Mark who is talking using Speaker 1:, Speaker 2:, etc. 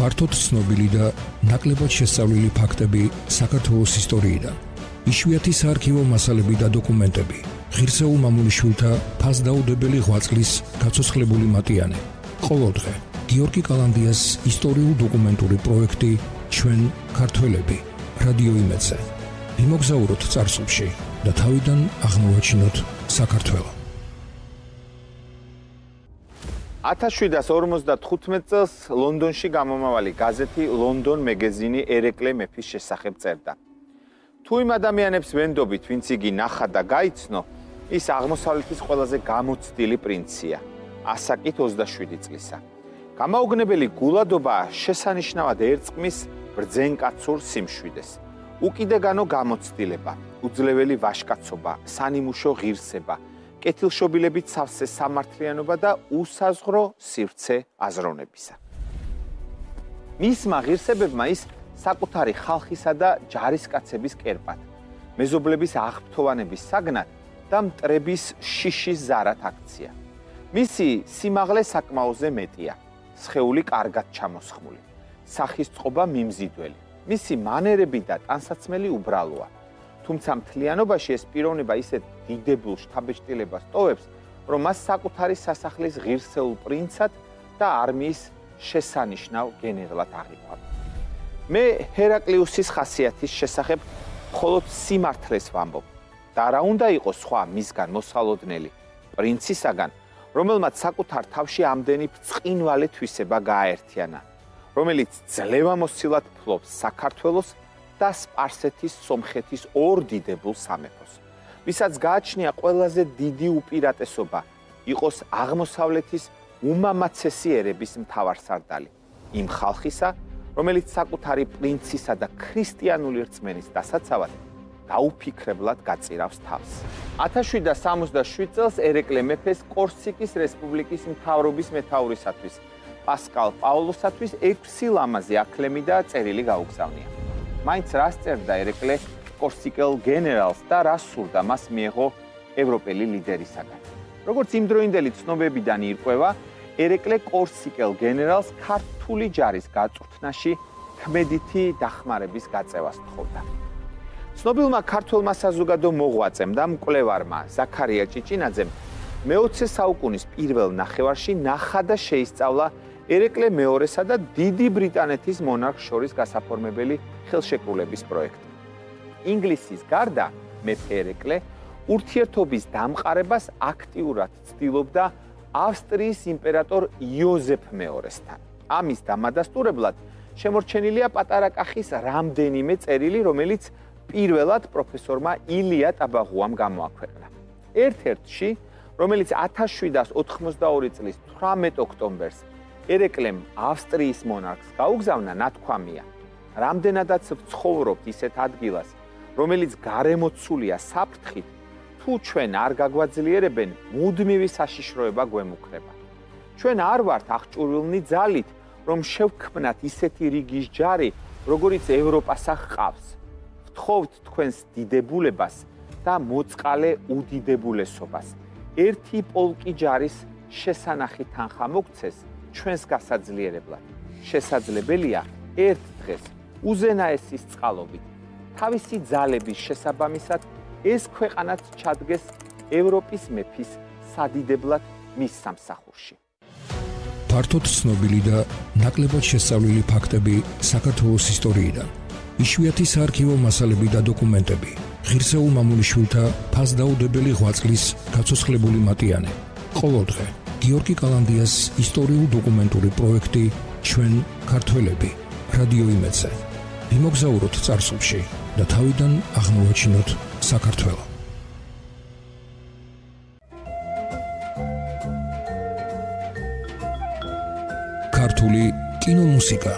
Speaker 1: ფართოდ ცნობილი და ნაკლებად შესწავლილი ფაქტები საქართველოს ისტორიიდან. იშვიათი საარქივო მასალები და დოკუმენტები. ღირსეულ მამულიშვილთა ფასდაუდებელი ღვაწლის გაცოცხლებული მატიანე. ყოველდღე გიორგი კალანდიას ისტორიულ-დოკუმენტური პროექტი ჩვენ ქართველები რადიო იმედზე. ვიმოგზაუროთ წარსულში და თავიდან აღმოვაჩინოთ საქართველო.
Speaker 2: 1755 წელს ლონდონში გამომავალი გაზეთი London Magazine ერეკლე მეფის შესახებ წერდა. თუ იმ ადამიანებს ვენდობით, ვინც იგი ნახა და გაიცნო, ის აღმოსავლეთის ყველაზე გამოცდილი პრინცია, ასაკით 27 წლისა. გამაოგნებელი გულადობა შესანიშნავად ერწყმის ბრძენკაცურ სიმშვიდეს. უკიდეგანო გამოცდილება, უძლეველი ვაჟკაცობა, სანიმუშო ღირსება, კეთილშობილებით სავსე სამართლიანობა და უსაზღვრო სივრცე აზროვნებისა. მისმა ღირსებებმა ის საკუთარი ხალხისა და ჯარისკაცების კერპად, მეზობლების აღფრთოვანების საგნად და მტრების შიშის ზარად აქცია. მისი სიმაღლე საკმაოზე მეტია, სხეული კარგად ჩამოსხმული, სახის წყობა მიმზიდველი, მისი მანერები და ტანსაცმელი უბრალოა. თუმცა მთლიანობაში ეს პიროვნება ისეთ დიდებულ შთაბეჭდილებას ტოვებს, რომ მას საკუთარი სასახლის ღირსეულ პრინცად და არმიის შესანიშნავ გენერლად აღიქვამს. მე ჰერაკლიუსის ხასიათის შესახებ მხოლოდ სიმართლეს ვამბობ და რა უნდა იყოს სხვა მისგან მოსალოდნელი პრინცისაგან, რომელმაც საკუთარ თავში ამდენი ბრწყინვალე თვისება გააერთიანა, რომელიც ძლევამოსილად ფლობს საქართველოს და სპარსეთის სომხეთის ორ დიდებულ სამეფოს, ვისაც გააჩნია ყველაზე დიდი უპირატესობა იყოს აღმოსავლეთის უმამაცესი ერების მთავარსარდალი, იმ ხალხისა, რომელიც საკუთარი პრინცისა და ქრისტიანული რწმენის დასაცავად დაუფიქრებლად გაწირავს თავს. 1767 წელს ერეკლე მეფეს კორსიკის რესპუბლიკის მთავრობის მეთაურისათვის, პასკალ პაულოსათვის 6 ლამაზი აქლემი და წერილი გაუგზავნია. მაინც რას წერდა ერეკლე კორსიკელ გენერალს და რას სურდა მას მიეღო ევროპელი ლიდერისაგან. როგორც იმდროინდელი ცნობებიდან ირკვევა, ერეკლე კორსიკელ გენერალს ქართული ჯარის გაწვრთნაში ქმედითი დახმარების გაწევას თხოვდა. ცნობილმა ქართველმა საზოგადო მოღვაწემ და მკვლევარმა ზაქარია ჭიჭინაძემ მე-20 საუკუნის პირველ ნახევარში ნახა და შეისწავლა ერეკლე მეორესა და დიდი ბრიტანეთის მონარქს შორის გასაფორმებელი ხელშეკრულების პროექტი. ინგლისის გარდა მეფე ერეკლე ურთიერთობის დამყარებას აქტიურად ცდილობდა ავსტრიის იმპერატორ იოზეფ მეორესთან. ამის დამადასტურებლად შემორჩენილია პატარა კახის რამდენიმე წერილი, რომელიც პირველად პროფესორმა ილია ტაბაღუამ გამოაქვეყნა. ერთ-ერთში, რომელიც 1782 წლის 18 ოქტომბერს ერეკლემ ავსტრიის მონარქს გაუგზავნა, ნათქვამია: რამდენადაც ვცხოვრობთ ისეთ ადგილას, რომელიც გარემოცულია საფრთხით, თუ ჩვენ არ გაგვაძლიერებენ, მუდმივი საშიშროება გვემუქრება. ჩვენ არ ვართ აღჭურვილნი ძალით, რომ შევქმნათ ისეთი რიგის ჯარი, როგორიც ევროპასა ჰყავს. ვთხოვთ თქვენს დიდებულებას და მოწყალე უდიდებულესობას. ერთი პოლკი ჯარის შესანახი თანხა მოგცეს ჩვენს გასაძლიერებლად. შესაძლებელია ერთ დღეს უზენაესის წყალობით თავისი ძალების შესაბამისად ეს ქვეყანაც ჩადგეს ევროპის მეფის სადიდებლად მის სამსახურში.
Speaker 1: ფართოდ ცნობილი და ნაკლებად შესწავლილი ფაქტები საქართველოს ისტორიიდან. იშვიათი საარქივო მასალები და დოკუმენტები. ღირსეულ მამულიშვილთა ფასდაუდებელი ღვაწლის გაცოცხლებული მატიანე. ყოველდღე გიორგი კალანდიას ისტორიულ-დოკუმენტური პროექტი ჩვენ ქართველები რადიო იმედზე. ვიმოგზაუროთ წარსულში და თავიდან აღმოვაჩინოთ საქართველო. ქართული კინომუსიკა